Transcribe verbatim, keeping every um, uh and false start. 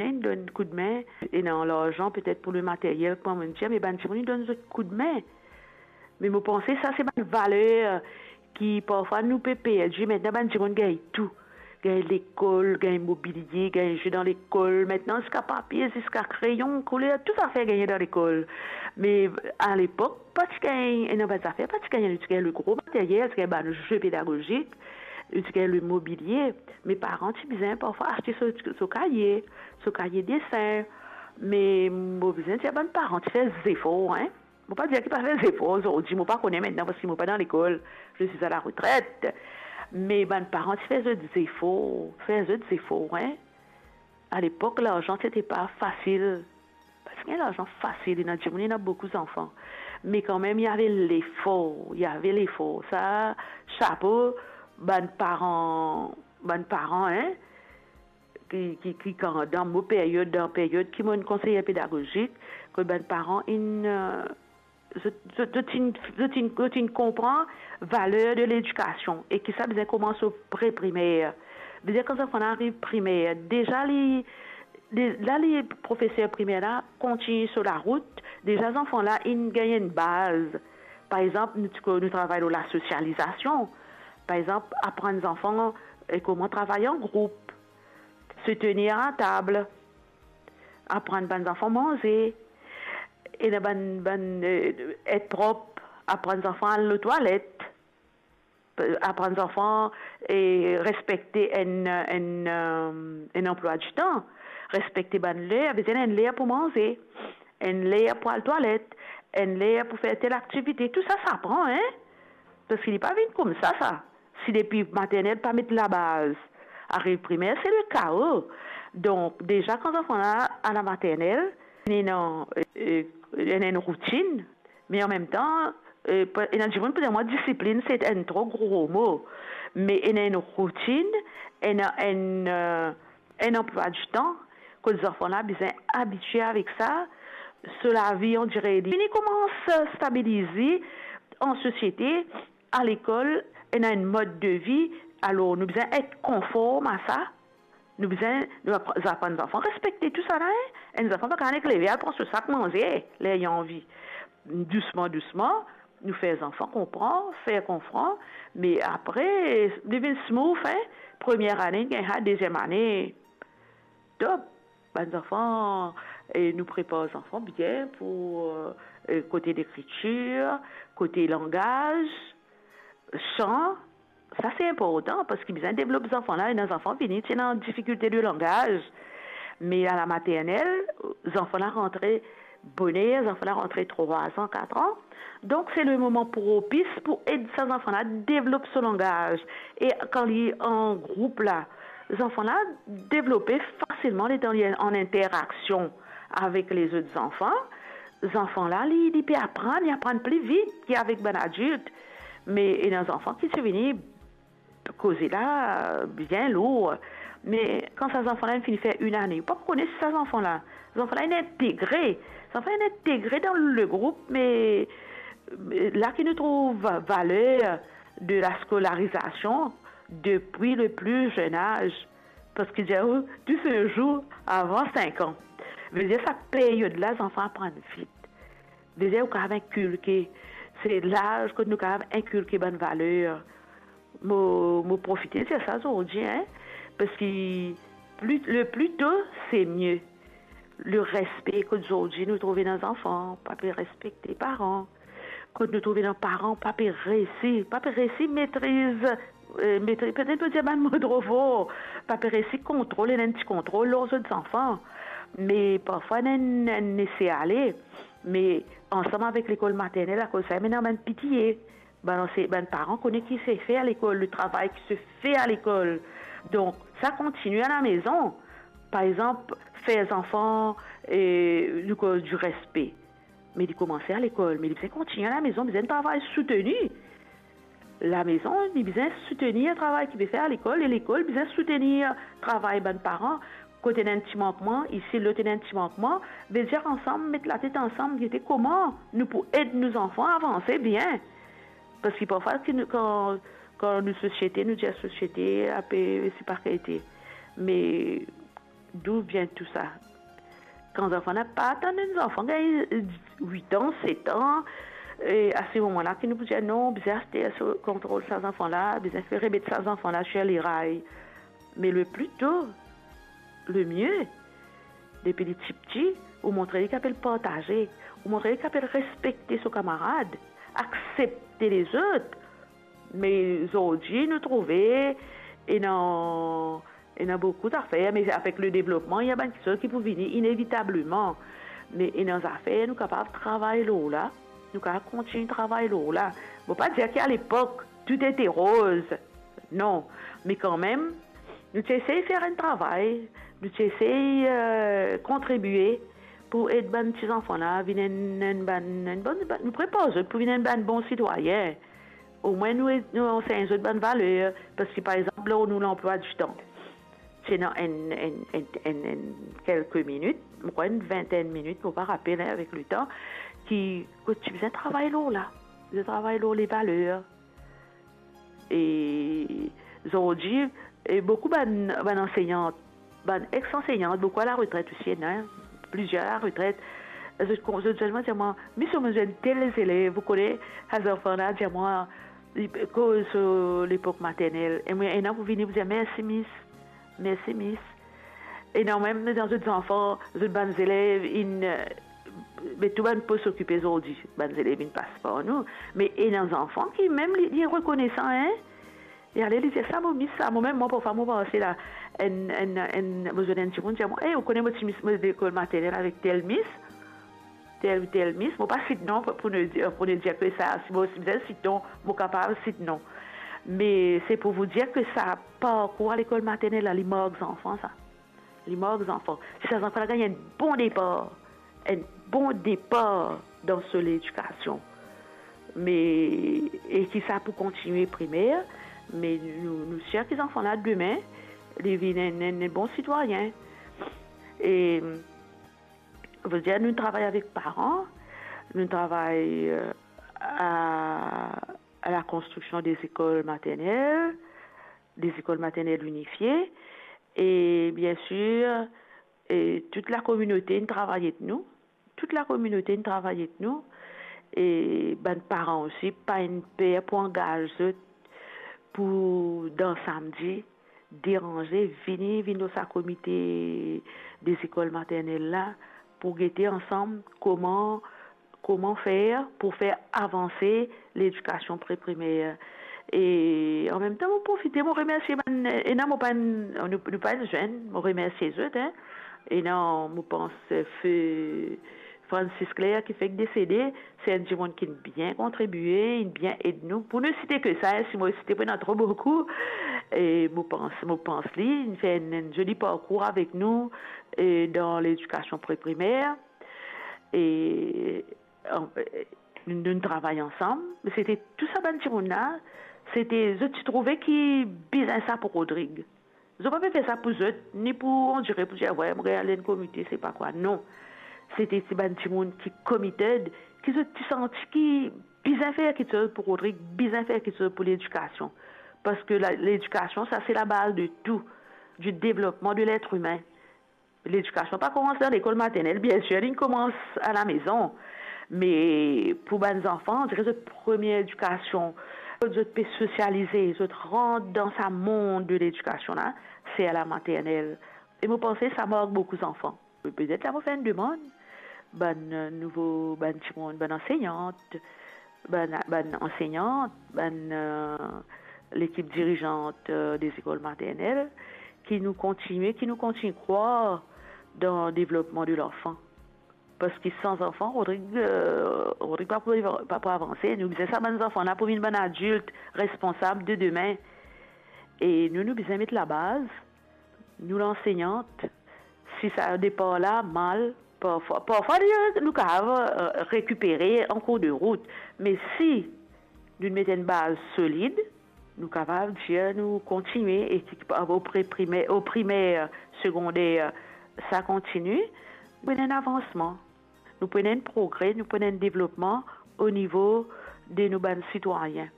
inn donn koudme, ena larzan petet pou le materyel, kouma mo dir, me bann dimoun inn donn zot koudme. Me mo panse sa se bann valer ki parfwa nou pe perdi. Aster bann dimoun gagn tou. Gagn lekol, gagn mobilie, gagn zwe dan lekol. Aster ziska papie, ziska kreyon, kouler, tou zafer gagne dan lekol. Me alepok, pa ti gagn ena bann zafer, pa ti gagn, nou ti gagn le gro materyel, ti gagn bann zwe pedagozik, nou ti gagn le mobilie. Me paran ti bizin parfwa aste so, so kaye, so kaye desin. Me mo bizin dir bann paran ti fer zefor, hein. Mo pa dir ki pa fer zefor zordi, mo pa kone aster parski mo pa dan lekol, je suis à la retraite. Me bann paran ti fer zot zefor, fer zot zefor, hein. Alepok, larzan, sete pa fasil. Pa ti gagn larzan fasil, ena dimoun, ena boukou zanfan. Me kanmem, il y avait l'effort, il y avait l'effort. Sa, sapo, bann paran, bann paran, hein, ki, ki, ki kan, dan mo peryod, dan peryod ki mo inn konseyer pedagozik, kot bann paran inn, euh, zot, zot, zot inn, zot inn, zot inn konpran valer de ledikasion e ki sa bizin koumans o pre primer. Vedir kan zanfan la ariv primer, deza li, de, la li profeser primer la kontign so larout, deza zanfan la inn gagn enn baz. Par exanp, nou ti ko-, nou travay lor lasosializasion. Par exanp, aprann zanfan, eh, kouma travay an group, se tenir a tab, aprann bann zanfan manze, ena bann, bann, eh, et prop, aprann zanfan al lotwalet, aprann zanfan, eh, respekte enn, enn, eh, enn anplwa di tan, respekte bann ler, bizin enn ler pou manze, enn ler pou al twalet, enn ler pou fer tel aktivite. Tou sa, sa pran, hein? Parski li pa vinn koumsa, sa. Si depi maternel pa met labaz, ariv primer, se le kao. Donk, deza kan zanfan la al maternel, ena, eh, eh, ena enn routinn, me anmemtan, eh, pa, ena dimoun pou dir mwa, disiplinn, se enn tro gro mo. Me ena enn routinn, ena enn, eh, enn anplwa di tan, kot zanfan la bizin abitie avek sa, so lavi, on dirait, li fini koumans stabilize an sosiete, a lekol, ena enn mod de vi, alor nou bizin et konform a sa, nou bizin, nou apr-, aprann zanfan respekte tou sa la, hein. Enn zanfan pa kapav nek leve al pran so sak manze, ler li anvi. Dousman, dousman, nou fer zanfan konpran, fer konpran, me apre, li vinn smooth, hein. Premie ane, gagn sa, deziem ane, top. Bann zanfan, e nou prepar zanfan bien pou, eh, eh, kote lekritir, kote langaz, san, sa se inportan, parski bizin devlop zanfan la, ena zanfan vini, ti ena difikilte de langaz. Me a la maternel, zanfan la rantre boner, zanfan la rantre trwa an, kat an. Donk, se le moman propis pou ed sa zanfan la devlop so langaz. E kan li an group la, zanfan la devlope fasilman letan li an interaksion avek lezot zanfan. Zanfan la, li, li pe aprann, li aprann pli vit ki avek bann adilt. Me ena zanfan ki ti vini koze la bien lour. Me kan sa zanfan la inn fini fer enn ane, ou pa pou kone si sa zanfan la, zanfan la inn integre. Zanfan la inn integre dan le group, me, me la ki nou trouv va-, valer de la skolarizasion depi le pli zenn az. Parski dir ou, tou se zour avan sink an. Vedir sa peryod la, zanfan aprann vit. Vedir ou kapav inkilke, se laz kot nou kapav inkilke bann valer. Mo, mo profite dir sa zordi, hein, parski pli, le pli to, se mie. Le respe, kot zordi nou trouve ena zanfan, pa pe respekte paran. Kot nou trouve ena paran, pa pe resi, pa pe resi metriz, eh, metriz, petet mo dir bann mo tro for, pa pe resi kontrol, ena enn ti kontrol lor zot zanfan. Me parfwa ena enn, enn lese ale, me ansam avek lekol maternel, akoz sa, ena bann pitiye. Bann anse-, bann paran kone ki se fer a lekol, le travay ki se fer a lekol. Donk, sa kontigne a la mezon. Par exanp, fer zanfan, eh, nou koz di respe. Me li koumanse a lekol, me li bizin kontigne a la mezon, bizin travay souteni. La mezon, li bizin soutenir travay ki pe fer a lekol, e lekol bizin soutenir travay bann paran. Kot ena enn ti mankman, isi, lot ena enn ti mankman, vedir ansam, met latet ansam, gete kouma nou pou ed nou zanfan avanse bien. Parski parfwa, ki nou, kan, kan nou sosiete, nou dir sosiete, ape, se pa kalite. Me D'où vient tout ça? Kan zanfan la pa atann, enn zanfan gagn wit an, set an, e a se moman la ki nou pou dir, non, bizin aste so kontrol sa zanfan la, bizin fer remet sa zanfan la sir leray. Me le pli to, le mie, depi li tipti, ou montre li ki apel partaze, ou montre li ki apel respekte so kamarad, aksepte lezot. Me zordi nou trouve ena, ena boukou zafer, me avek le devlopman, ena bann kiksoz ki pou vini inevitableman. Me ena zafer nou kapav travay lor la, nou kapav kontign travay lor la. Mo pa dir ki a lepok, tout ete roz. Non, me kanmem, nou ti esey fer enn travay, nou ti esey, eh, kontribie pou ed bann ti zanfan la vinn enn, enn bann, enn bann, bann, nou prepar zot pou vinn enn bann bon sitwayin. Omwin nou, nou ansegn zot bann valer, parski, par exanp, lor nou lanplwa di tan, ti ena enn, enn, enn, enn, enn kelke minit, mo krwar enn vintenn minit, mo pa rapel, hein, avek letan, ki, kot ti bizin travay lor la, bizin travay lor levaler. E zordi, e boukou bann, bann ansegnant, bann ex-ansegnant, boukou a la retret osi, ena, plizier a la retret. Zot kon-, zot dir mwa, dir mwa, "Miss, mo zwenn tel zelev, ou kone, sa zanfan la dir mwa, li koz so lepok maternel." E mwa, ena pou vini pou dir, "Mersi, Miss. Mersi, Miss." Ena mem dan zot zanfan, zot bann zelev, inn, eh, be tou bann pos okipe zordi, bann zelev inn pas par nou. Me ena zanfan ki mem li, li rekonesan, hein? E ale li dir, "Sa mo mis sa." Mo mem, mwa, parfwa, mo panse la, enn, enn, enn, mo zwenn enn dimoun dir mwa, "Eh, ou kone mo ti mis, mo lekol maternel avek tel mis, tel, tel mis." Mo pa sit non pou, pou ne dir, pou ne dir ki sa, si mo, si bizin sit non, mo kapav sit non. Me se pou vous dire ki sa parkour a lekol maternel la, li mark zanfan sa. Li mark zanfan. Si sa zanfan la gagn enn bon depar, enn bon depar dan so ledikasion, me, e ki sa pou kontinie primer, me nou, nou sir ki zanfan la demin, li vinn enn, enn bon sitwayin. E, vedir, nou travay avek paran, nou travay, eh, a, a la konstriksion de lekol maternel, de lekol maternel inifie, e bien sir, e tout lakominote inn travay ek nou, tout lakominote inn travay ek nou, e bann paran osi pa inn per pou angaz zot pou dan samdi deranze, vini, vinn lor sa komite de lekol maternel la, pou gete ansam kouma, kouma fer pou fer avanse ledikasion pre-primer. E an mem tan, mo profite, mo remersie bann, ena mo pa enn, nou, nou pa enn zenn, mo remersie zot, hein. Ena, mo pans, eh, Fe Francis Claire ki fek desede, se enn dimoun ki bien kontribie, inn bien ed nou. Pou nou site ki sa, hein, si mo site pou ena tro boukou, e mo pans, mo pans li, inn fer enn, enn zoli parkour avek nou, e dan ledikasion pre-primer. E, an, e, nou, nou travay ansam, me sete tou sa bann dimoun la, sete, zot ti trouve ki bizin sa pou Rodrig. Zot pa pe fer sa pou zot, ni pou, on dirait, pou dir, "Wey, mo gagn al enn komite, se pa kwa." Non. Sete ti bann dimoun ki committed, ki zot ti santi ki bizin fer kiksoz pou Rodrig, bizin fer kiksoz pou ledikasion. Parski la, ledikasion, sa se labaz de tou, du devlopman de letre imin. Ledikasion pa koumans dan lekol maternel, bien sir, li koumans alamezon. Me pou bann zanfan, on dirait zot premie ledikasion, kot zot pe sosialize, zot rant dan sa mond de ledikasion la, se a la maternel. E mo panse sa mark boukou zanfan. Petet la mo fer enn demann bann, eh, nouvo, bann dimoun, bann ansegnant, bann, bann ansegnant, bann, eh, lekip dirizant, eh, de lekol maternel, ki nou kontinie, ki nou kontinie krwar dan devlopman de lanfan. Parski san zanfan, Rodrig, eh, Rodrig pa pou, pa pou avanse. Nou bizin sa bann zanfan la pou vinn bann adilt responsab de demin. E nou, nou bizin met labaz, nou lansegnant, si sa depar la mal, parfwa, parfwa, nou kapav, eh, rekipere an kour de rout. Me si nou met enn baz solid, nou kapav dir nou kontinie, e ki, o pre-primer, o primer, segonder, sa kontinie, nou pou ena enn avansman, nou pou ena enn progre, nou pou ena enn devlopman o nivo de nou bann sitwayin.